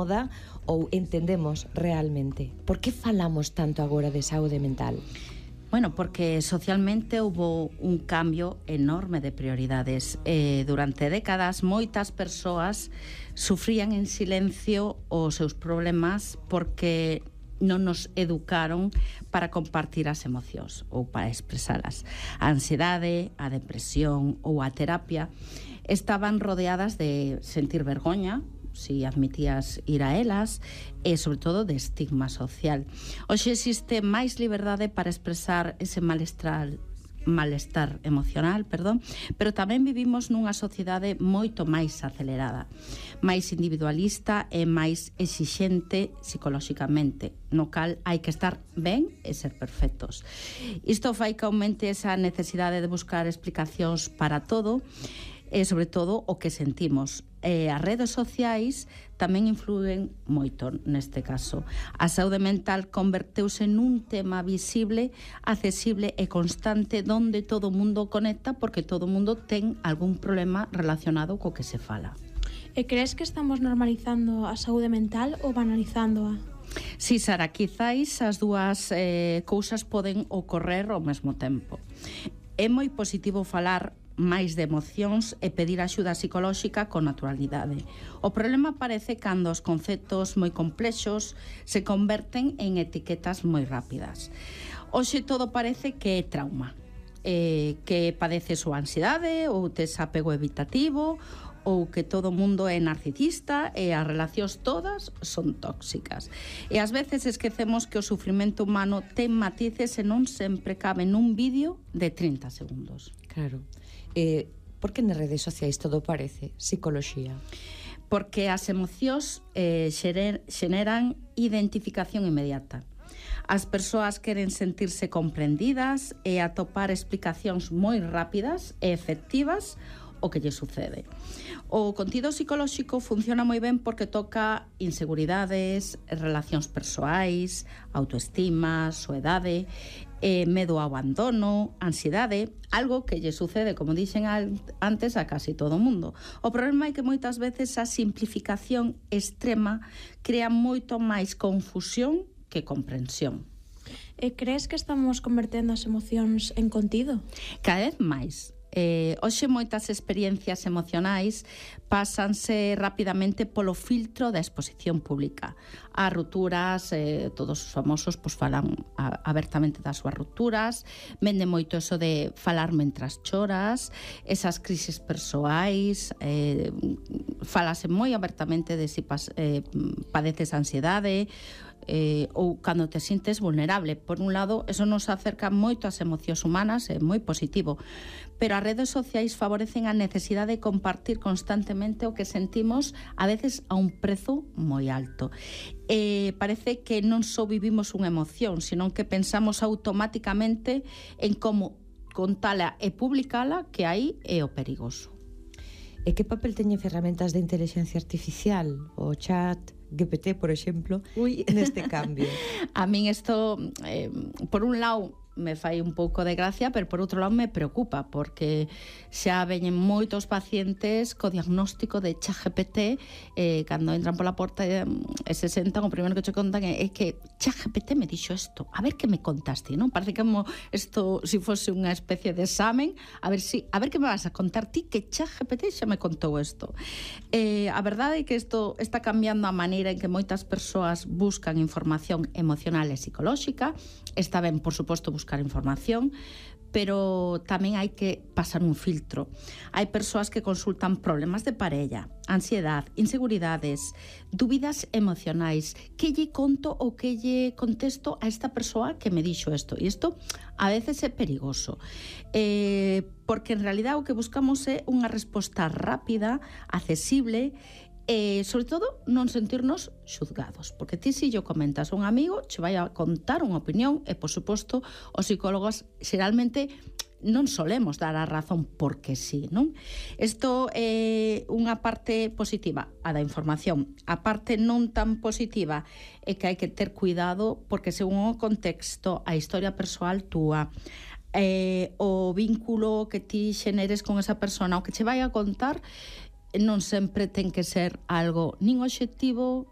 moda ou entendemos realmente? Por que falamos tanto agora de saúde mental? Bueno, porque socialmente hubo un cambio enorme de prioridades. Durante décadas, moitas persoas sufrían en silencio os seus problemas porque non nos educaron para compartir as emocións ou para expresalas. A ansiedade, a depresión ou a terapia estaban rodeadas de sentir vergoña, si admitías ir a elas, e sobre todo de estigma social. Hoxe existe máis liberdade para expresar ese malestar emocional, pero tamén vivimos nunha sociedade moito máis acelerada, máis individualista e máis exixente psicolóxicamente, no cal hai que estar ben e ser perfectos. Isto fai que aumente esa necesidade de buscar explicacións para todo, e sobre todo o que sentimos. As redes sociais tamén influen moito neste caso. A saúde mental converteuse nun tema visible, accesible e constante onde todo o mundo conecta porque todo o mundo ten algún problema relacionado co que se fala. E crees que estamos normalizando a saúde mental ou banalizándoa? Si, Sara, quizáis as dúas cousas poden ocorrer ao mesmo tempo. É moi positivo falar máis de emocións e pedir axuda psicolóxica con naturalidade. O problema aparece cando os conceptos moi complexos se converten en etiquetas moi rápidas. Hoxe todo parece que é trauma, que padeces ou ansiedade ou tes apego evitativo ou que todo o mundo é narcisista e as relacións todas son tóxicas. E ás veces esquecemos que o sufrimento humano ten matices e non sempre cabe nun vídeo de 30 segundos. Claro. Por que nas redes sociais todo parece psicoloxía? Porque as emocións xeneran identificación inmediata. As persoas queren sentirse comprendidas e atopar explicacións moi rápidas e efectivas o que lle sucede. O contido psicolóxico funciona moi ben porque toca inseguridades, relacións persoais, autoestima, soedade, medo ao abandono, ansiedade, algo que lle sucede, como dixen antes, a casi todo o mundo. O problema é que moitas veces a simplificación extrema crea moito máis confusión que comprensión. E crees que estamos convertendo as emocións en contido? Cada vez máis. Hoxe moitas experiencias emocionais pásanse rapidamente polo filtro da exposición pública. As rupturas, todos os famosos falan abertamente das súas rupturas, vende moito eso de falar mentras choras, esas crisis persoais, falase moi abertamente de si padeces ansiedade, ou cando te sintes vulnerable. Por un lado, eso nos acerca moito ás emocións humanas, é moi positivo, pero as redes sociais favorecen a necesidade de compartir constantemente o que sentimos, a veces a un prezo moi alto. Parece que non só vivimos unha emoción, sino que pensamos automáticamente en como contala e publicala, que aí é o perigoso. E que papel teñen ferramentas de inteligencia artificial, o chat GPT, por exemplo, neste cambio? A min isto, por un lado, me fai un pouco de gracia, pero por outro lado me preocupa, porque xa veñen moitos pacientes co diagnóstico de ChatGPT, cando entran pola porta e se sentan, o primeiro que che contan é que ChatGPT me dixo isto, a ver que me contaste, non? Parece como isto, se fose unha especie de examen, a ver que me vas a contar ti que ChatGPT xa me contou isto. A verdade é que isto está cambiando a maneira en que moitas persoas buscan información emocional e psicolóxica. Está ben, por suposto, buscar información, pero tamén hai que pasar un filtro. Hai persoas que consultan problemas de parella, ansiedade, inseguridades, dúbidas emocionais. Que lle conto ou que lle contesto a esta persoa que me dixo isto? E isto a veces é perigoso, porque en realidad o que buscamos é unha resposta rápida, accesible, e, sobre todo, non sentirnos xuzgados. Porque ti, se yo comentas a un amigo, che vai a contar unha opinión e, por suposto, os psicólogos xeralmente non solemos dar a razón porque sí, non? Isto é unha parte positiva, a da información. A parte non tan positiva é que hai que ter cuidado porque, según o contexto, a historia persoal túa, o vínculo que ti xeneres con esa persona, o que che vai a contar, non sempre ten que ser algo nin obxectivo